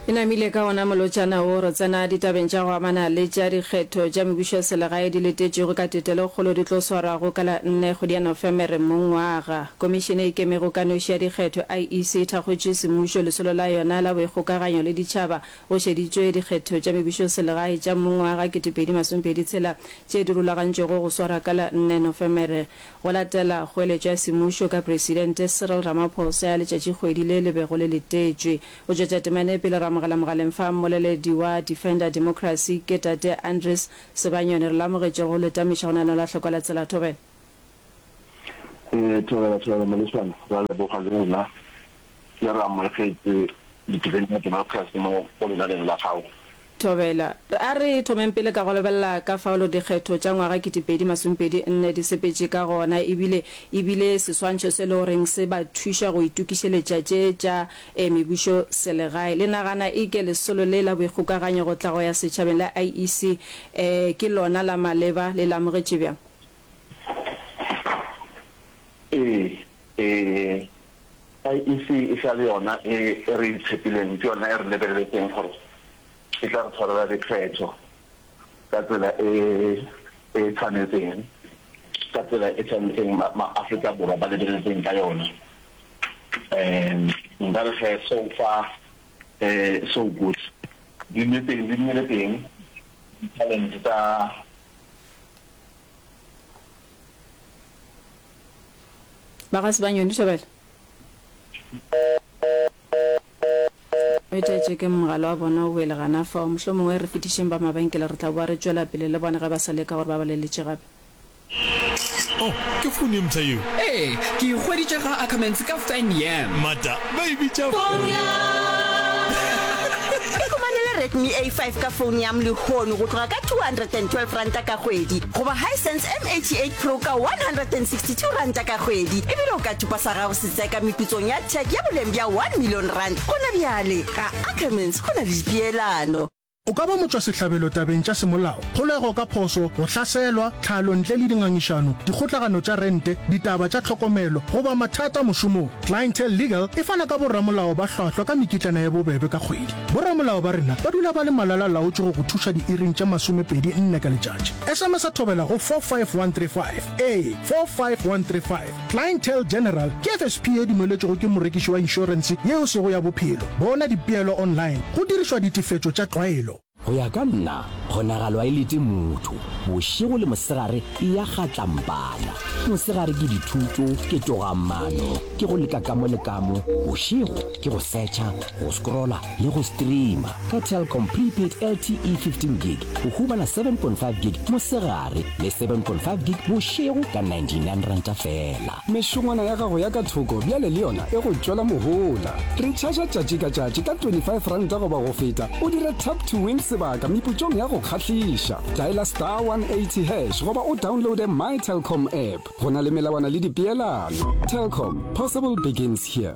E namile ka wona molotšana wo, re tsena ditabeng tša go amana le tša dikgetho tša mebušo ya selegae di letetšwego ka tetelokgolo di tlo swarwago ka la nne kgwedi ya Nofemere mongwaga. Komišene e Ikemego ka Noši ya Dikgetho, IEC, e thakgotše semmušo lesolo la yona la boikgokaganyo le ditšhaba go šeditšwe dikgetho tša mebušoselegae tša mongwaga 2026 tše di rulagantšwego go swarwa ka la nne Nofemere go latela kgoeletšo ya semmušo ka Presidente Cyril Ramaphosa ya letšatšikgwedi le le bego le letetšwe. Go tšwetša temana e pele re amogela mogaleng fa mmoleledi wa Defender Democracy ke Tate Andries Sebanyoni. Re le amogetše go le tamiša go lenaneo la Hlokwa la Tsela. Thobela. Ee, thobela, thobela Molešana. Re a leboga le rena le re amogetše Defender Democracy mo go lenaneng la gago. Thobela. A re thomeng pele ka go lebelela ka fao dikgetho tša ngwaga 2024 di sepetše ka gona ebile e bile seswantšho se le goreng se ba thuša go itokišeletša tše tša mebušo selegae. Le nagana eke lesolo le la boikgokaganyo go tla go ya setšhabeng la IEC ke lona la maleba? Le le amogetše bjang? Ee, ee, IEC e sa le yona e re e tshepileng, ke yona e re lebeletseng gore e tla re tshwarela dikgetho ka tsela e e tshwanetseng, ka tsela e tshwanetseng ma-Afrika Borwa ba lebeletseng ka yona. Um nka re ge so far so good, di nne teng, di nnile teng di-challenge tsa. Ba ga Sebanyoni, Thobela. O itaetše ke mogala wa bona o wele gana fao. Mohlomongwe re fetišeng ba mabenkele, re tla boa re tšwela pele le bona ge ba sa leka gore ba ba leletše gape. Oh, ke founu ye mpsha yeo? Ee, ke e hweditše ga Ackermans ka Fan Yam. Mata, ba e bitša Phone Yam. Ikhumanele Redmi A5 ka Phone Yam lehono go tloga ka R212 ka kgwedi goba Hisense M88 Pro ka R162 ka kgwedi ebile o ka thupa sa gago Tseka meputsong ya tech ya boleng bja R1 million gona bjale. Ga Ackermans go na le dipeelano. O ka ba motšwasehlabelo tabeng tša semolao, kgolego ka phošo, go hlaselwa, tlhalo ntle le dingangišano, dikgotlagano tša rente, ditaba tša tlhokomelo, goba mathata mošomong. Clientele Legal e fana ka boramolao ba hlwahlwa ka mekitlana ye bobebe ka kgwedi. Boramolao ba rena ba dula ba le malala-laotšwe go go thuša diiring tše masomepedi nne ka letšatši. SMS-a thobela go 45135. Ee, 45135. Clientele General ke FSP ye dumeletšwego ke morekiši wa inšorense ye e sego ya bophelo. Bona dipeelo online go dirišwa ditefetšo tša tlwaelo. Go ya ka nna, kgonagalo a e lete motho. Bošego le mosegare e ya kgatlampana. Mosegare ke dithuto, ke togamaano, ke go leka ka mo le ka mo. Bošego ke go searcha, go scrolla le go streama. Ka Telkom Prepaid LTE 15 Gig o humana 7.5 gig mosegare le 7.5 gig bošego ka 99 ranta feela. Mešongwana ya gago ya ka thoko bjale le yona e go tšwela mohola. Retšhaša tšatši ka tšatši ka 25 ranta goba go feta o dire Tap to Win sebaka meputsong ya go kgahliša. Dialer star 180 hash goba o downloade My Telkom app. Go na le melawana le dipeelano. Telkom, possible begins here.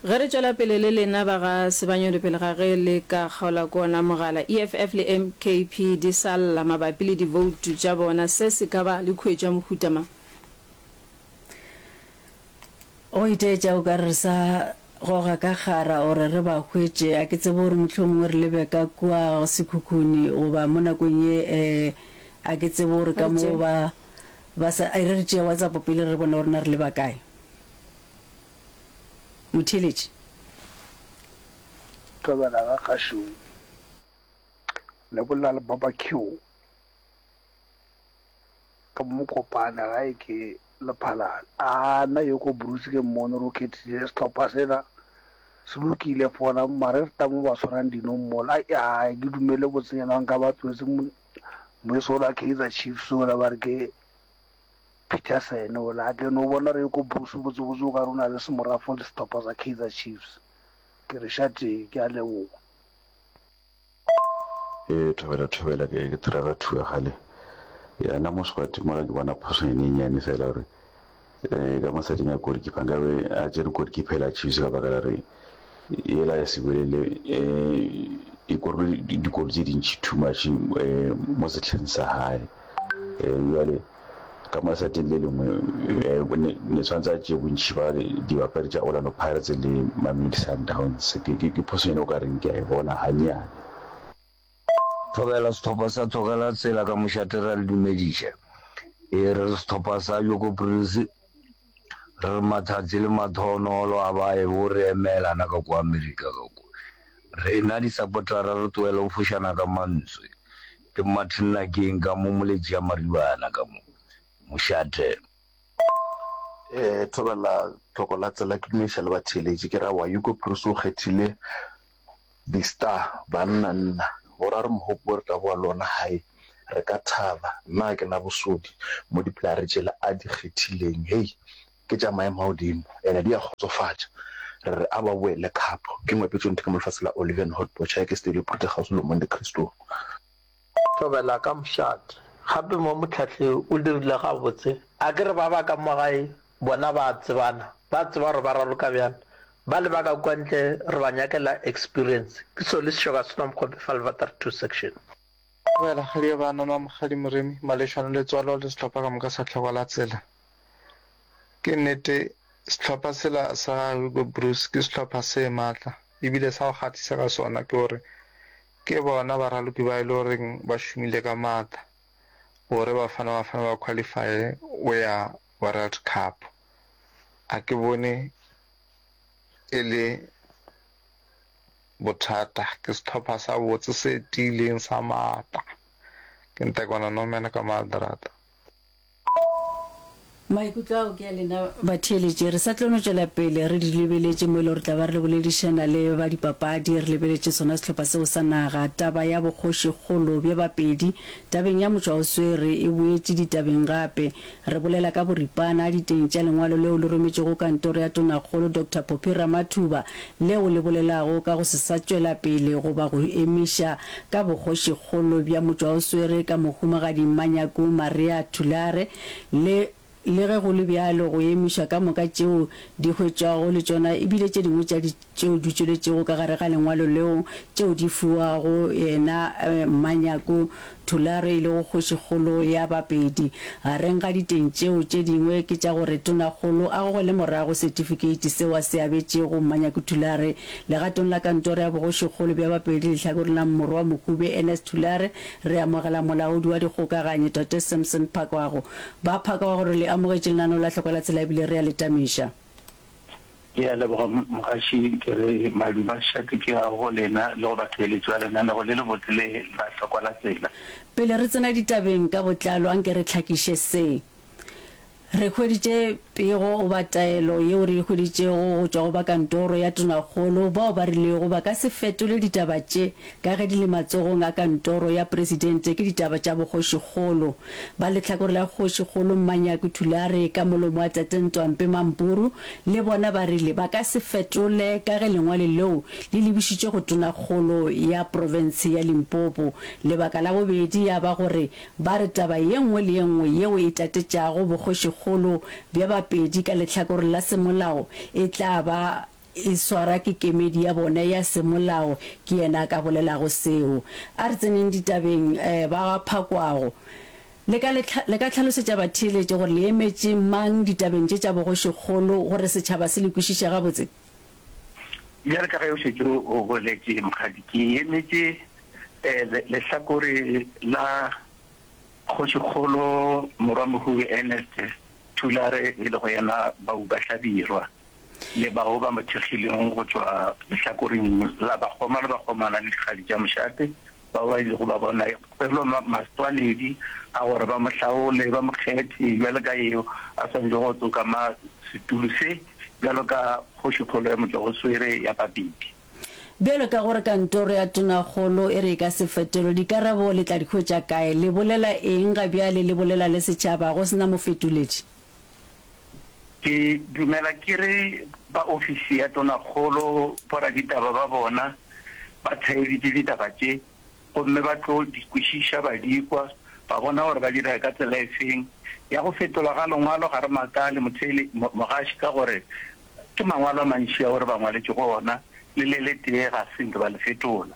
Ge re tšwela pele le lena ba ga Sebanyoni pele ga ge le ka kgaolwa ke ona mogala, EFF le MKP di sa lla mabapi le divoutu tša bona, se se ka ba le khuetšo ya mohuta mang? Go itaetša o ka re re sa goga ka kgara gore re ba hwetše. A ke tsebe gore mohlomongwe re lebe ka kua Sekhukhune goba mo nakong ye eh, a ke tsebe gore ka mo ba ba sa, e re re tšee WhatsApp pele re bone gore na re leba kae. Motheeletši. Thobela ga Kgašong. Le bolela le Baba Q ka mo Mokopane gae ke Lephalale. A nna yo ko Bruce ke mmone gore o khethile sehlopha sela se lokile fona mare re ta mo ba tshwarang dino mola. Ai ai ke dumele botsenyana nka ba tlohetse moeso ola Kaizer Chiefs ola ba re ke Peterson ola a ke no bona re ko Bruce botsebotse o ka re o na le semorafo le sehlopha sa Kaizer Chiefs. Ke re šatee, ke a leboga. Ee thobela thobela ke ke Trevor Thuagale. Ya nna mo squad mola ke bona phoso e nyenyane fela gore eh ka mosading ya goalkeeper nkabe a tšere goalkeeper ela Chiefs ka baka la re yela ya Sibolele eh e korile dikolo tse dintši too much eh mo sehleng sa hae. Eh jwale. Ka mo lesaeteng le lengwe ne ne tshwanetse a tšee bontši ba dibapadi tša Orlando Pirates le Mamelodi Sundowns. Ke ke ke phosonyana o ka reng ke a e bona gannyane. Thobela sehlopha sa Thokela Tsela ka mošate re a le dumediša. Ee, re re sehlopha sa Joko Prince, re re mathatsi le mathonolo a ba ye bo re emela na ka kwa Amerika ka kwa. Rena disapotara re tlohele go fošana ka mantswe. Ke Martin Nakeng ka mo Moletši ya Maribana ka mo mošate. Ee, thobela tlhoko la tsela ke dumediša le batheeletši ke ra wa Hugo Broos o kgethile Di star banna nna gore a re mohopo re tla boa le ona hae re ka thaba nna ga ke na bosodi mo di playere tšela a di kgethileng hei ke tša maemo a godimo ene di a kgotsofatša re re a ba boele cup ke ngwepetšo ntho ka mo lefase la Olivian Hot Bocha ke Studio Prute kgauswi le Monte Cristo. Thobela ka mošate. Gape mo mohlahli o dirile gabotse. A ke re ba ba ka mo gae bona ba a tsebana, ba tseba gore ba raloka bjang. Bale ba ka kua ntle re ba nyakela experience. Ke Solly Seshoka Senwa Mokgope Falvater 2 Section. Thobela, Kgadi ya bana, Nwa Mokgadi Moremi, Malešwane Letswalo le sehlopha ka moka sa Tlhokwa la Tsela. Ke nnete sehlopha sela sa Hugo Broos ke sehlopha se matla ebile sa go kgahlisa ka sona ke gore ke bona baraloki ba e le goreng ba šomile ka matla gore Bafana Bafana ba qualifye go ya World Cup. A ke bone e le bothata. Ke sehlopha sa botse se tiileng sa maatla. Ke Ntekwana Norman ka Maldrata. Maikutlo ao ke a lena batheeletši. Re sa tlo no tšwela pele re di lebeletše mo e le gore tla ba re boledišana le ba dipapadi, re lebeletše sona sehlopha seo sa naga. Taba ya bokgošikgolo bja Bapedi tabeng ya motšwaoswere e boetše ditabeng gape. Re bolela ka boripana diteng tša lengwalo leo le rometšwego kantoro ya Tonakgolo Doctor Phophi Ramathuba leo le bolelago ka go se sa tšwela pele goba go emiša ka bokgošikgolo bja motšwaoswere ka Mohumagadi Mmanyaku Maria Thulare le Le ge go le bjalo, go emišwa ka moka tšeo di hwetšwago le tšona e bile tše dingwe tša tšeo di tšweletšego ka gare ga lengwalo leo tšeo di fiwago yena Mmanyaku Thulare e lego kgošikgolo ya Bapedi. Gareng ga diteng tšeo tše dingwe ke tša gore Tonakgolo a gogele morago setifikeiti seo a se abetšego Mmanyaku Thulare legatong la kantoro ya bogošikgolo bja Bapedi lehlakoreng la Morwa Mohube Ernest Thulare. Re amogela molaodi wa dikgokaganyi Tate Samson Phakwago. Ba Phakwago re le amogetše lenaneo la Hloko la Tsela ebile re a le tamiša. Ke a leboga mogaši, ke re madume a šate ke a go lena le go batheeletši ba lenanego le lebotse le la Hlokwa la Tsela. Pele re tsena ditabeng ka botlalo, anke re hlakiše se. Re hweditše pego goba taelo yeo re e hweditšego go tšwa go ba kantoro ya tonakgolo bao ba rilego ba ka se fetole ditaba tše ka ge di le matsogong a kantoro ya presidente ke ditaba tša bogošikgolo. Ba lehlakore la Kgošikgolo Mmanyaku Thulare ka molomo wa Tate Ntwampe Mampuru le bona ba rile ba ka se fetole ka ge lengwalo leo le lebišitšwe go Tonakgolo ya profense ya Limpopo. Lebaka la bobedi ya ba gore ba re taba ye nngwe le ye nngwe yeo e tatetšago bogošikgolo bja Bapedi ka lehlakore la semolao e tla ba e swara ke kemedi ya bona ya semolao, ke yena a ka bolelago seo. A re tseneng ditabeng, ba ga Phakwago. Le ka le, le ka hlalosetša batheeletši gore le emetše mang ditabeng tše tša bogošikgolo gore setšhaba se le kwešiše gabotse? Bjale ka ge o šetše o boletše, Mokgadi, ke emetše lehlakore la Kgošikgolo Morwamohube Ernest Thulare e lego yena Bauba Hlabirwa. le bao ba mo thekgilego go tšwa lehlakoreng la bakgoma le bakgomana le dikgadi tša mošate, bao ba ilego ba bona kgwelo maswanedi a gore ba mo hlaole, ba mo kgethe bjalo ka yeo a swanetšego go tsokama setulo se bjalo ka kgošikgolo ya Motšwaoswere ya Bapedi. Bjalo ka gore kantoro ya tonakgolo e re e ka se fetolwe, dikarabo le tla di hwetša kae? Le bolela eng ga bjale le bolela le setšhaba go se na mofetoledi? Ke dumela ke re ba ofisi ya Tonakgolo, boraditaba ba bona ba theeditše ditaba tše gomme ba tlo di kwešiša, ba di kwa, ba bona gore ba dira ka tsela efeng. Ya go fetolwa ga lengwalo ga re makale motheele, mogaši ka gore ke mangwalo a mantši ao re ba ngwaletšego ona, le le letee ga se nke ba le fetola.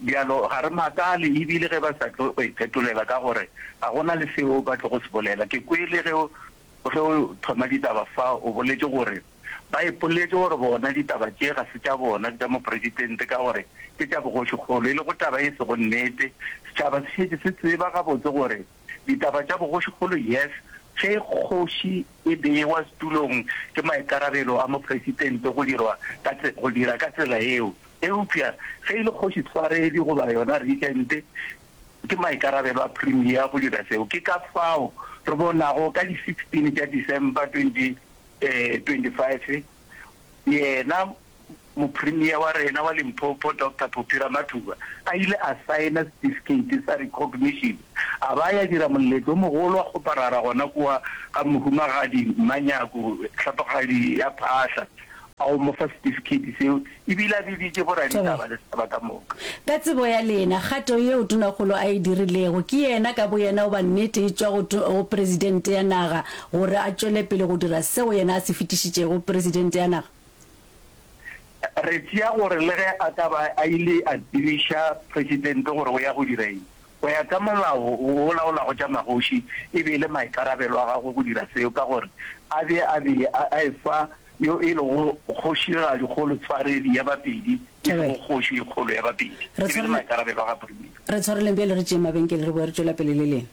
Bjalo ga re makale e bile ge ba sa tlo go iphetolela ka gore ga go na le seo ba tlogo se bolela. Ke kwele ge o, ge o thoma ditaba fa o boletše gore ba ipoletše gore bona ditaba tše ga se tša bona, ke tša mopresidente ka gore ke tša bogošikgolo, e lego taba e sego nnete. Setšhaba se šetše se tseba gabotse gore ditaba tša bogošikgolo, yes, ge kgoši e bewa setulong ke maikarabelo a mopresidente go dirwa ka, go dira ka tsela yeo. Eupša ge e le kgoši tshwaredi goba yona regent, ke maikarabelo a Premier go dira seo. Ke ka fao re bonago ka di 16 tša December 2025, yena Mopremier wa rena wa Limpopo Doctor Phophi Ramathuba a ile a saena setifikeiti sa recognition, a ba ya dira moletlo o mogolo wa kgoparara gona kua ga Mohumagadi Mmanyaku Hlapogadi ya Phaahla. A go mo fa setifikeiti seo e bile a biditše boraditaba le setšhaba ka moka. Ka tsebo ya lena, kgato yeo Tonakgolo a e dirilego, ke yena ka boyena goba nnete e tšwa go, go Presidente ya naga gore a tšwele pele go dira seo yena a se fetišitšego go Presidente ya naga? Re tšea gore le ge a ka ba a ile a tsebiša Presidente gore o ya go dira eng, go ya ka molao wo o laolago tša magoši, e be e le maikarabelo a gagwe go dira seo ka gore a be a be a efa yo e lego kgošigadi kgolo tshwaredi ya Bapedi, e sego kgoši e kgolo ya Bapedi. Re E be le maikarabelo a ga Premier. Re tshwareleng bjale re tšeeng mabenkele re boe re tšwela pele le lena.